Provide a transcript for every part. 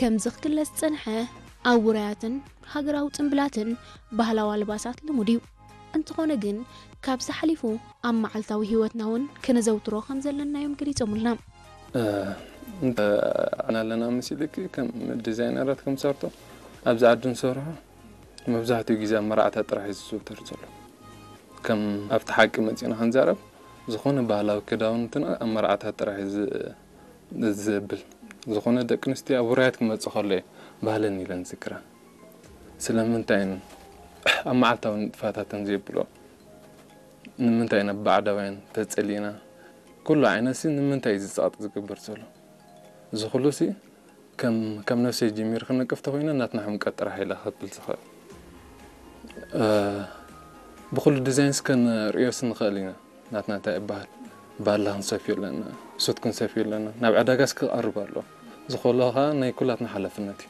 ከምዚ ክግለጽ ዝጸንሐ ኣብ ውራያትን ሃገራዊ ጽምብላትን ባህላዊ ኣልባሳት ልሙድ እዩ። እንተኾነ ግን ካብዚ ሓሊፉ ኣብ መዓልታዊ ህይወትና እውን ከነዘውትሮ ከም ዘለና እዮም ገሊጾምልና። እንተ ኣና ኣለና መሲልኪ ከም ዲዛይነራት ከም ሰርቶ ኣብዚ ዓዲ ንሰርሖ መብዛሕትኡ ግዜ ኣብ መርዓታት ጥራሕ እዩ ዝዝውተር ዘሎ። ከም ኣብቲ ሓቂ መፂና ክንዛረብ ዝኾነ ባህላዊ ክዳውንትና ኣብ መርዓታት ጥራሕ እዩ ዝ- ዘብል። ዝኾነ ደቂ ኣንስትዮ ኣብ ውራያት ክመፅእ ከሎ እየ ባህለን ኢለን ዝክራ። ስለምንታይ እየን ኣብ መዓልታዊ ንጥፋታተን ዘየብሎ? ንምንታይ ኢና ብባዕዳውያን ተፀሊእና? ኩሉ ዓይነት ሲ ንምንታይ እዩ ዝፀቕጥ ዝግበር ዘሎ? እዚ ኩሉ ሲ ከም ከም ነፍሰይ ጀሚር ክነቅፍ ተኮይነ ናትና ሕምቀት ጥራሕ ኢለ ክብል ዝኽእል። ብኩሉ ዲዛይንስ ከንርእዮስ ንኽእል ኢና። ናትና እንታይ ይበሃል? ባላ ክንሰፍዮ ኣለና፣ ሱት ክንሰፍዮ ኣለና። ናብ ዕዳጋስ ክቐርብ ኣሎ። ዝኮሎ ከዓ ናይ ኩላትና ሓላፍነት እዩ።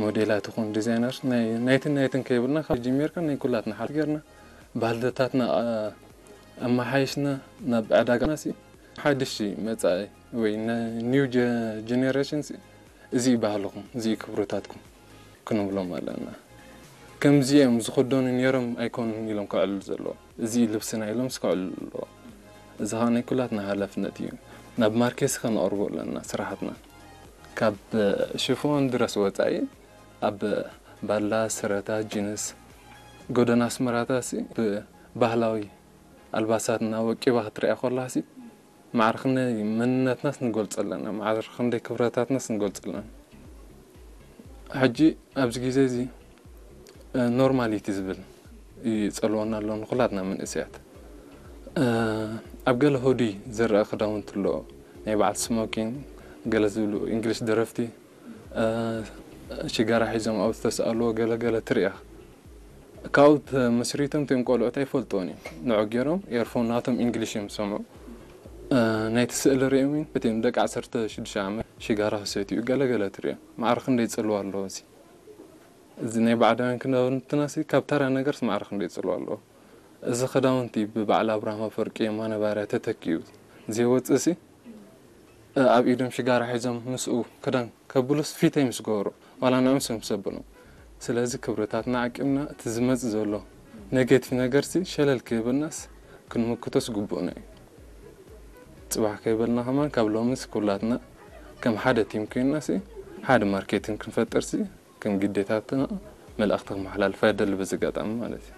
ሞዴላት ይኹን ዲዛይነር ናይ- ናይትን ናይትን ከይብልና ካብ ጀሚርካ ናይ ኩላትና ሓ ጌርና ባህልታትና ኣመሓይሽና ናብ ዕዳጋና ሲ ሓድሽ መፃኢ ወይ ኒው ጀኔሬሽን እዚ እዩ ባህልኹም፣ እዚ እዩ ክብርታትኩም ክንብሎም ኣለና። ከምዚ እዮም ዝኽደኑ ነይሮም ኣይኮኑን ኢሎም ከዕልሉ ዘለዎ፣ እዚ እዩ ልብስና ኢሎም ክዕልሉ ኣለዎ። እዚ ከዓ ናይ ኩላትና ሃላፍነት እዩ። ናብ ማርኬት ከነቕርቦ ኣለና ስራሕትና። ካብ ሽፎን ድረስ ወፃኢ ኣብ ባላ፣ ስረታት፣ ጂንስ፣ ጎደና ኣስመራታት ሲ ብባህላዊ ኣልባሳትና ወቂባ ክትሪኣ ከላሲ ማዕረ ክንደይ መንነትናስ ንገልፅ ኣለና፣ ማዕረ ክንደይ ክብረታትናስ ንገልፅ ኣለና። ሕጂ ኣብዚ ግዜ እዚ ኖርማሊቲ ዝብል ይፀልወና ኣሎ ንኩላትና መንእሰያት። ኣብ ገለ ሆዲ ዝረአ ክዳውንቲ ኣሎ፣ ናይ በዓል ስሞኪን ገለ ዝብሉ እንግሊሽ ደረፍቲ ሽጋራ ሒዞም ኣብ ዝተሰኣልዎ ገለ ገለ ትሪኣ። ካብኡ ተመስሪቶም እቶም ቆልዑት ኣይፈልጥዎን እዮም። ንዑ ገይሮም ኤርፎን ናቶም እንግሊሽ እዮም ዝሰምዑ። ናይቲ ስእሊ ሪኦም እዮም እቲኦም ደቂ ዓሰርተ ሽዱሽተ ዓመት ሽጋራ ክሰትዩ ገለ ገለ ትሪኦም። ማዕረ ክንደይ ጽልዋ ኣለዎ እዚ። እዚ ናይ ባዕዳውያን ክዳውንትና ሲ ካብ ተራ ነገርስ ማዕረ ክንደይ ጽልዋ ኣለዎ። እዚ ክዳውንቲ ብበዓል ኣብርሃም ኣፈወርቂ የማነ ባርያ ተተኪኡ ዘይወጽእ ሲ ኣብ ኢዶም ሽጋራ ሒዞም ምስኡ ክዳን ከብሉስ ፊተይ ምስ ገበሩ ዋላ ንዕምስ ምስ ኣበሎም። ስለዚ ክብርታትና ዓቂብና እቲ ዝመጽእ ዘሎ ኔጌቲቭ ነገርሲ ሸለል ከይበልናስ ክንምክቶስ ግቡእና እዩ። ጽባሕ ከይበልና ከማን ካብ ሎምስ ኩላትና ከም ሓደ ቲም ኮይንናሲ ሓደ ማርኬቲንግ ክንፈጥርሲ ከም ግዴታትና መልእኽቲ ክመሓላልፋ ይደሊ በዚ ኣጋጣሚ ማለት እዩ።